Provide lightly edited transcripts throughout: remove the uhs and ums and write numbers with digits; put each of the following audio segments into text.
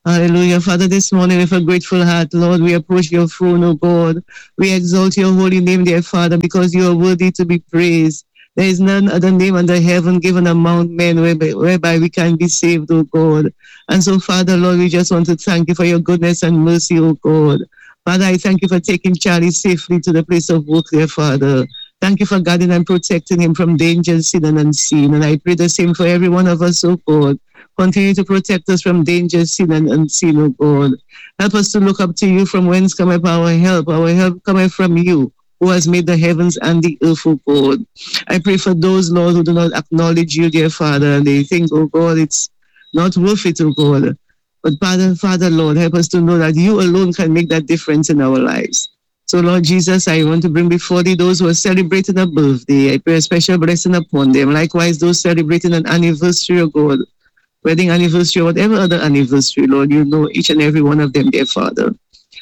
Hallelujah. Father, this morning with a grateful heart, Lord, we approach your throne, O God. We exalt your holy name, dear Father, because you are worthy to be praised. There is none other name under heaven given among men whereby we can be saved, O God. And so, Father, Lord, we just want to thank you for your goodness and mercy, O God. Father, I thank you for taking Charlie safely to the place of work, dear Father. Thank you for guarding and protecting him from danger, seen and unseen. And I pray the same for every one of us, O God. Continue to protect us from danger, seen and unseen, O God. Help us to look up to you from whence cometh our help. Our help cometh from you, who has made the heavens and the earth, O God. I pray for those, Lord, who do not acknowledge you, dear Father, and they think, oh God, it's not worth it, oh God. But Father, Father, Lord, help us to know that you alone can make that difference in our lives. So, Lord Jesus, I want to bring before thee those who are celebrating a birthday. I pray a special blessing upon them. Likewise, those celebrating an anniversary, oh God, wedding anniversary, or whatever other anniversary, Lord, you know each and every one of them, dear Father.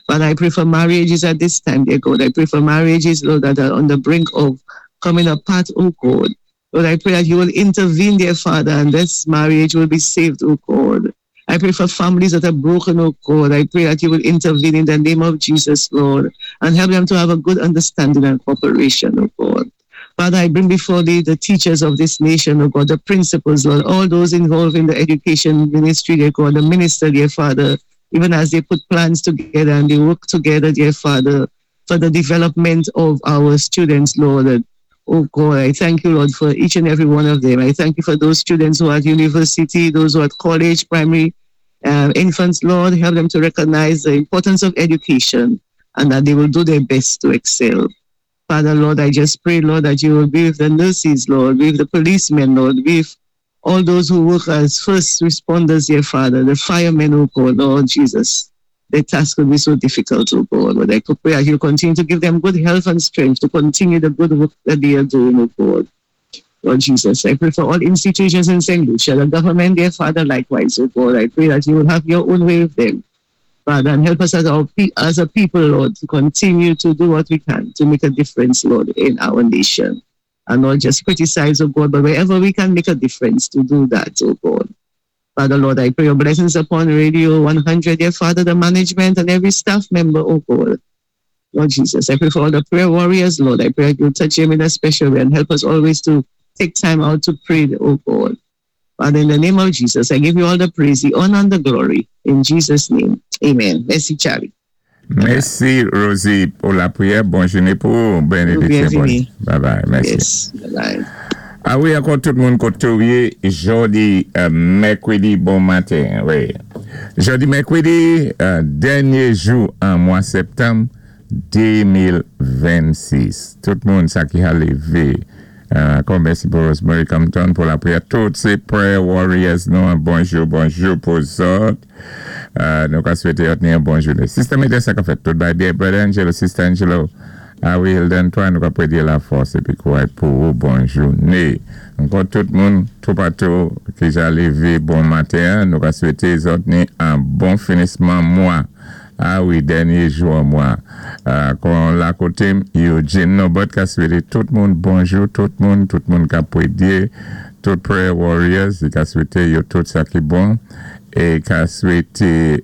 But I pray for marriages at this time, dear God. I pray for marriages, Lord, that are on the brink of coming apart, oh God. Lord, I pray that you will intervene, dear Father, and this marriage will be saved, oh God. I pray for families that are broken, oh God. I pray that you will intervene in the name of Jesus, Lord, and help them to have a good understanding and cooperation, oh God. Father, I bring before thee the teachers of this nation, oh God, the principals, Lord, all those involved in the education ministry, dear God, the minister, dear Father, even as they put plans together and they work together, dear Father, for the development of our students, Lord. And, oh God, I thank you, Lord, for each and every one of them. I thank you for those students who are at university, those who are at college, primary, infants, Lord, help them to recognize the importance of education and that they will do their best to excel. Father, Lord, I just pray, Lord, that you will be with the nurses, Lord, be with the policemen, Lord, be with all those who work as first responders, dear Father, the firemen, oh God, Lord Jesus. Their task will be so difficult, oh God. But I could pray that you continue to give them good health and strength to continue the good work that they are doing, oh God. Lord Jesus, I pray for all institutions in St. Lucia, the government, dear Father, likewise, oh God. I pray that you will have your own way with them, Father, and help us as a people, Lord, to continue to do what we can to make a difference, Lord, in our nation. And not just criticize, oh God, but wherever we can make a difference to do that, oh God. Father, Lord, I pray your blessings upon Radio 100, dear Father, the management and every staff member, oh God. Lord Jesus, I pray for all the prayer warriors, Lord. I pray that you touch them in a special way and help us always to take time out to pray, oh God. Father, in the name of Jesus, I give you all the praise, the honor, and the glory. In Jesus' name, amen. Mèsi, Charlie. Mèsi, Rosie, pou lapriyè. Bòn jouné pou ou. Benediksyon. Byenvini. Bye bye. Mèsi. Yes. Bye bye. A wi, ankò tout moun koté ou yé jòdi mèkwédi bon maten. Wi. Jòdi mèkwédi, dènyé jou an mwa sèptanm 2026. Tout moun sa ki ha lévé. Ankò mèsi pou Rosemary Compton pou lapriyè. Tout sé prayer warriors nou an bonjou bonjou pou zòt. Nou ka swété yòt ni yon bon jouné. Sister Meda sa ka fèt tout bagay byen. Brother Angelo, Sister Angelo, a wi Hilda Antoine nou ka prédé lafòs épi kouray pou ou bon jouné. Ankò tout moun toupatou ki ja lévé bon maten an nou ka swété zòt ni an bon finisman mwa. A wi dènyé jou an mwa. Kon la koté m Eugene Norbert ka swété tout moun bonjou tout moun tout moun kap pwédyé tout prayer warriors li ka swété yo tout sa ki bon é ka swété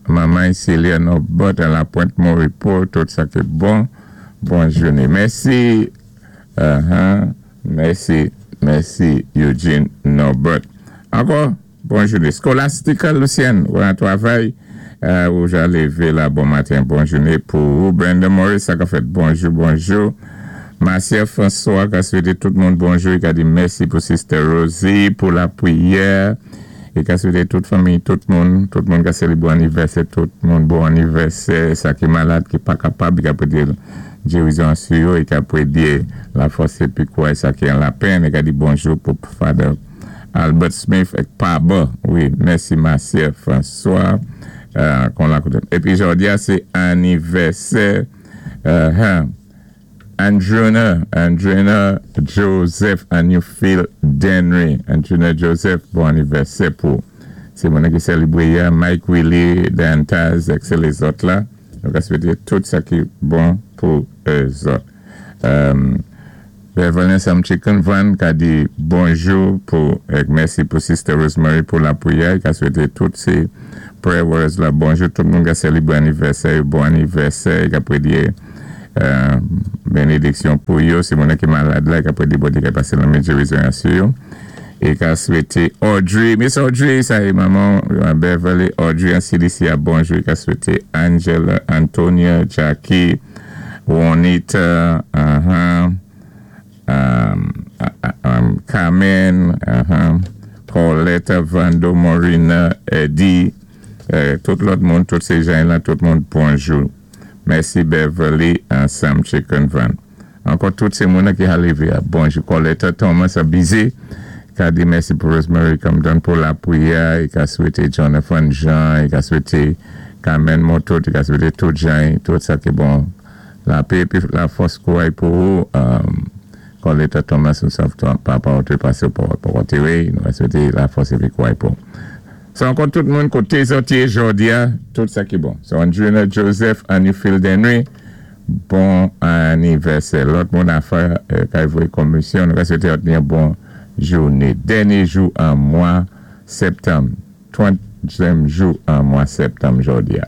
manman Celia Norbert a la Pointe Moripo tout sa ki bon bon jouné mèsi mèsi mèsi Eugene Norbert ankò. Bon jouné. Scholastica Lucienne, ou an twavay, ou ja lévé la bon maten, bon jouné pou ou. Brenda Morris, sa ka fèt bonjou, bonjou. Marcia François ka swété tout moun bonjou, i ka di mèsi pou Sister Rosie, pou lapriyè. I ka swété tout fanmiy, tout moun, tout moun ka sélébré anivèsè, tout moun bon anivèsè, sa ki malad, ki pa kapab, i ka pwété gérizon an sou yo, i ka pwédé lafòs épi kouray sa ki an lapenn, i ka di bonjou pou Father Albert Smith ak Paba wi mèsi Marcia François kon la kote epi jodi a se anivèsè Andrena Andrena Joseph Anufil Denry Andrena Joseph bon anivèsè pou se moun ki selebre yè Mike Willie Dantaz ak se lezòt la nou ka swete tout sa ki bon pou zòt. Beverly ansanm Chicken Van ka di bonjou pou ek mèsi pou Sister Rosemary pou lapriyè, i ka swete tout se Prayer Warriors la, bonjou, tout moun ki sélébwé anivèsè, bon anivèsè, ki ap prédé bénédiksyon pou yo, sé moun ki malad la, ki ap prédé Bondyé ki pasé lanmen gérizon sou yo. É ka swété Audrey, Miss Audrey, sa é manman Beverly, Audrey an CDC a bonjou, ka swété Angela, Antonia, Jackie, Juanita, Carmen, Pauletta, Vando, Morina, Eddie, tout lòt moun, tout sé jan la, tout moun, bonjou. Mèsi Beverly, ansanm Chicken Van. Ankò tout sé moun ki ka lévé, bonjou. Coletta Thomas a bizé, ka di mèsi pou Rosemary Camden pou lapwiyè, é ka swété Jonathan Jean, é ka swété Carmen Moto, é ka swété tout Jean, tout sa ki bon. Lapè épi lafòs kouray pou ou, Coletta Thomas, nou sav papa ou té pasé pou antéwé, nou swété lafòs épi kouray pou. So ankò tout moun koté zòt yé jòdi a, tout sa ki bon. So Andrina Joseph, Annie Henry, bon anivèsè. Lòt moun a fè kay voyé komisyon, nou swété yon bon jouné. Dènyé jou an mwa septanm, 30èm jou an mwa septanm jòdi a.